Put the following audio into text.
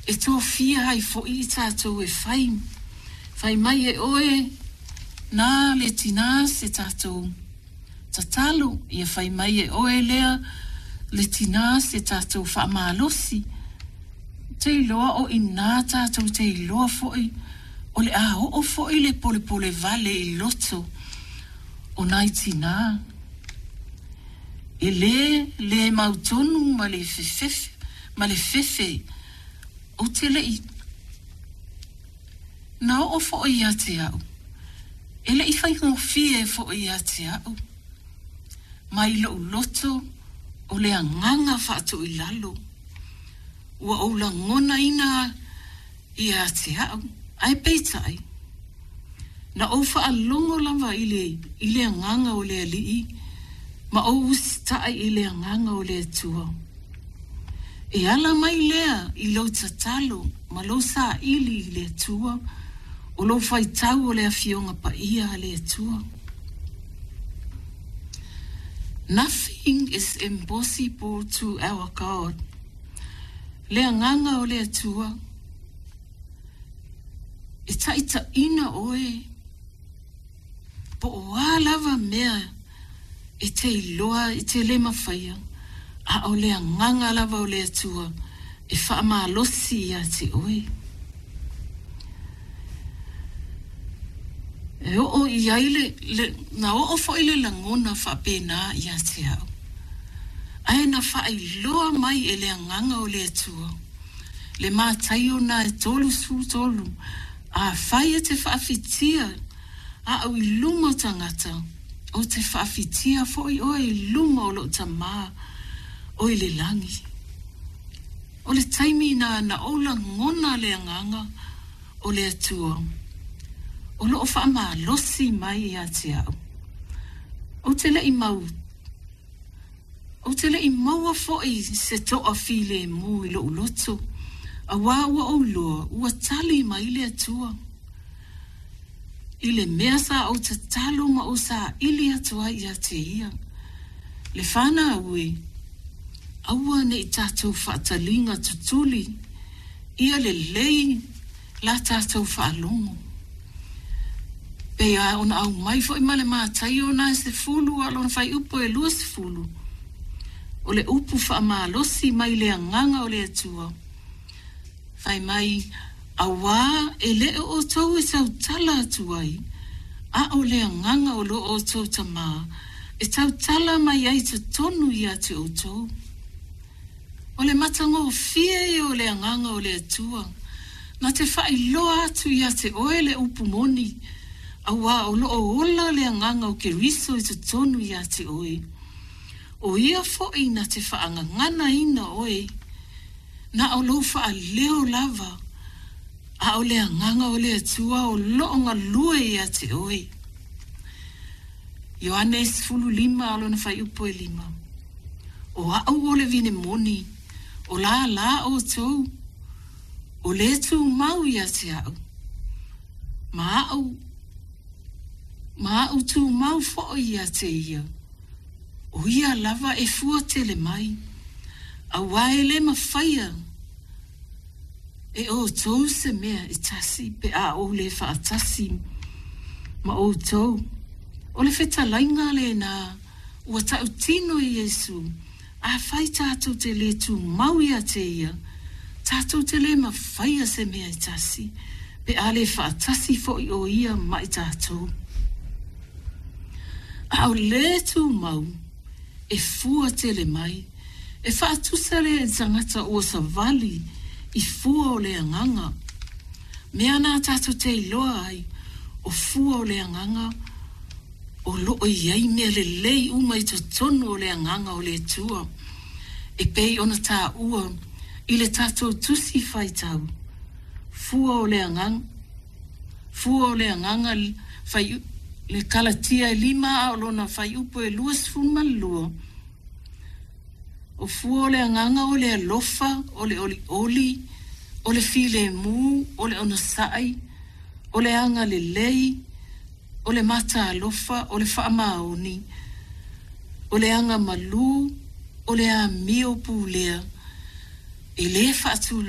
E tofia ai foi i tatou e fai, fai mai e oe na le tinā se tatou tatalo, ia fai mai e oe lea le tinā se tatou faamalosi. Te iloa o inā tatou te iloa foi o le a oo foi le polepole vale i loto o nai tinā. E le le mautonu ma le fefefe, ma le fefe ou te le i na oo foi ia te au. E le i faigofie foi ia te au. Mai lou loto o le agaga faatoilalo. Ua ou lagonaina ia te au, ae peitai, na ou faalogo lava i le, i le agaga o le Alii, ma ou usitai i le agaga o le Atua. E ala mai lea i lou tatalo ma lou saili i le Atua, o lou faitau o le Afioga Paia a le Atua. Nothing is impossible to our God. Le agaga o le Atua, e taitaiina oe po o a lava mea e te iloa e te le mafaia, a o le agaga lava o le Atua e faamalosi ia te oe. E oo i ai le, le, na oo foi le lagona faapena ia te au. Ae na faailoa mai e le agaga o le Atua, le Mataio na e 33, afai e te faafitia a'u i luma o tagata, ou te faafitia foi oe i luma o lou Tamā o i le lagi. O le taimi na na ou lagona le agaga o le Atua, o loo faamalosi mai ia te au. Ou te le i mau Ou te le i maua foi se toafilemu i lou loto, auā ua ou iloa ua tali mai le Atua i le mea sa ou tatalo ma ou saili atu ai ia te Ia. Le fanau e, aua ne i tatou faataliga tutuli ia lelei la tatou faalogo. Pei a ona aumai foi ma le Mataio na e 10 a o lona fuaiupu e 20, o le upu faamalosi mai le agaga o le Atua, fai mai, auā e le o outou e tautala atu ai, a o le agaga o lo outou Tamā e tautala mai ai totonu ia te outou. O le matagofie ia o le agaga o le Atua, na te faailoa atu ia te oe le upu moni, auā o loo ola le agaga o Keriso i totonu ia te oe. O ia foi na te faagaganaina oe, na o lou faaleo lava, a o le agaga o le Atua o loo galue ia te oe. Ioane 15 a o lona fuaiupu e 5. O a'u o le vine moni, o lālā outou, o le tumau ia te a'u, ma a'u, ma a'u tumau foi ia te ia. O ia lava e fua tele mai, auā e le mafaia e outou se mea e tasi pe a ou le faatasi ma outou. O le fetalaiga lenā ua tautino e Iesu, afai tatou te le tumau ia te ia, tatou te le mafaia se mea e tasi, pe a le faatasi foi o ia ma i tatou. A o le tumau e fua tele mai, e faatusa lea i le tagata ua savali i fua o le agaga. Mea na tatou te iloa ai, o fua o le agaga, o loo i ai mea lelei uma i totonu o le agaga o le Atua, e pei ona taua i le tatou tusi faitau, fua o le agaga, fua o le agaga, fai, le Kalatia e 5 a o lona fuaiupu e 22, o fua o le agaga o le alofa, o le olioli, o le filemu, o le onosai, o le agalelei, o le matalofa, o le faamaoni, o le agamalu, o le amio pulea, e le faatulafonoina.